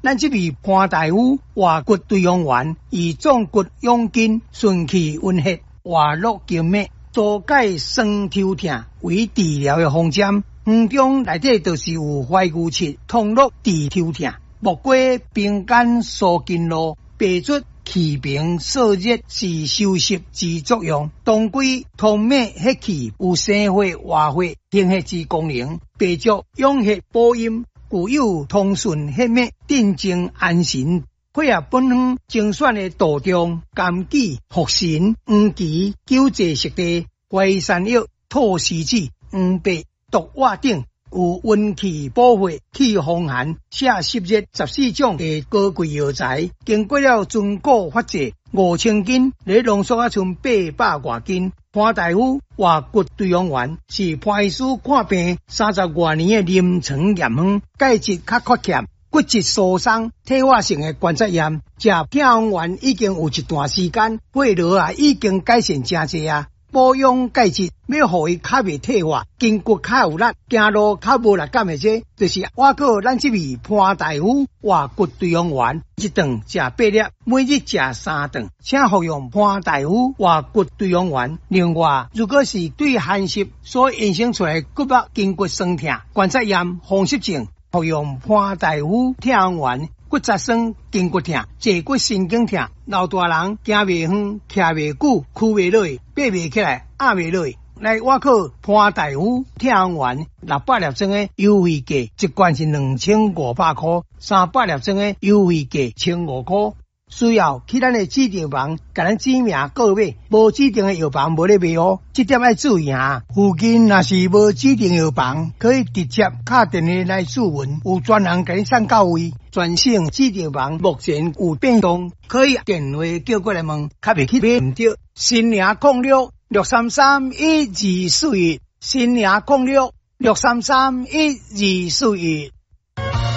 咱這味潘大夫活骨對陽丸，以壯骨養筋、順氣溫血、活絡經脈、疏解酸抽疼為治療的方針。方中內底就是有懷牛膝通絡治抽疼，木瓜平肝疏筋絡，白術祛冰燥熱是收濕之作用。當歸通脈血氣，有生血活血行血之功能。白術養血補陰，具有通順血脈、鎮靜安神。配合本方精選的杜仲、甘杞、茯神、黃芪、久坐熟地、淮山藥、菟絲子、黃柏、獨活等，有溫氣補血、去風寒、瀉濕熱14種的高貴藥材，經過了尊古法製，5000斤咧濃縮啊，賰800外斤。潘大夫活骨對陽丸是潘醫師看病30外年的臨床驗方，鈣質較缺欠、骨質疏鬆、退化性的關節炎，食疼風丸已經有一段時間，血尿啊已經改善誠濟啊。保養鈣質，欲予伊較袂退化，筋骨較有力，行路較無力感的這，就是我閣咱這味潘大夫活骨對陽丸，一頓食八粒，每日食三頓，請服用潘大夫活骨對陽丸。另外，如果是對寒濕所衍生出來骨肉筋骨酸痛、關節炎、風濕症，服用潘大夫疼風丸。骨質酸、筋骨疼、坐骨神經疼，老大人行袂遠、徛袂久、屈袂落、爬袂起來、壓袂落，來我靠潘大夫疼風丸600粒裝的優惠價，一罐是2500箍，300粒裝的優惠價1500箍。需要去咱的指定房，共咱指名購買，無指定的藥房無咧賣哦，這點愛注意啊。附近若是無指定藥房，可以直接敲電話來諮詢，有專人共你送到位。全省指定房目前有變動，可以電話叫過來問，較袂去買毋著。新營06-633-1241，新營06-633-1241。